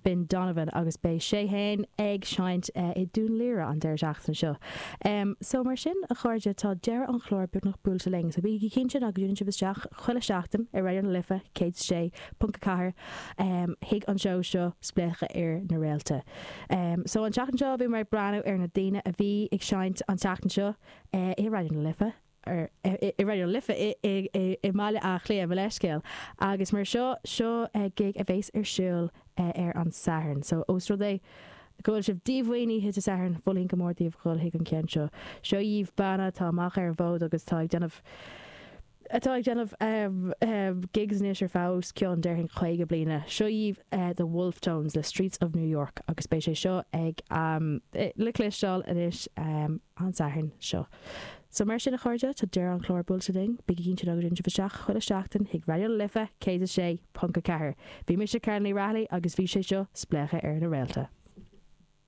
Finn Donovan agus beidh sé fhéin ag seinnt i Dún Laoghaire an deireadh seachtaine seo. So mar sin, a chairde, tá deireadh an chláir beagnach buailte linn, so bígí cinnte ná go dtiúnann sibh isteach chuile sheachtain ar Raidió na Life 106.4 chuig an seó seo, Spléachadh ar na Réalta. So an tseachtain seo bhíomar ag breathnú ar na daoine a bhí ag seinnt an tseachtain seo i Raidió na Life, i Raidió na Life i mBaile Átha Cliath, mo leithscéal. Agus mar seo, seo gig a bheas ar siúl ar an Satharn. So ós rud é go bhfuil sibh díomhaoin oíche Dé Sathairn, mholfainn go mór daoibh dhul chuig an ceann seo. Seo dhaoibh banna atá amach ar an bhfód agus atá ag déanamh atá ag déanamh gigs anois ar feadh os cionn, déarfainn, 50 bliana. Seo dhaoibh The Wolfe Tones le Streets of New York agus beidh sé seo ag le cloisteáil anois an Satharn seo. So mar sin a chairde, tá deireadh an chláir buailte linn. Bígí cinnte ná go dtiúnann sibh isteach chuile seachtain chuig Raidió na Life 106.4. Bhí mise Karen Ní Raghallaigh agus bhí sé seo Spléachadh ar na Réalta.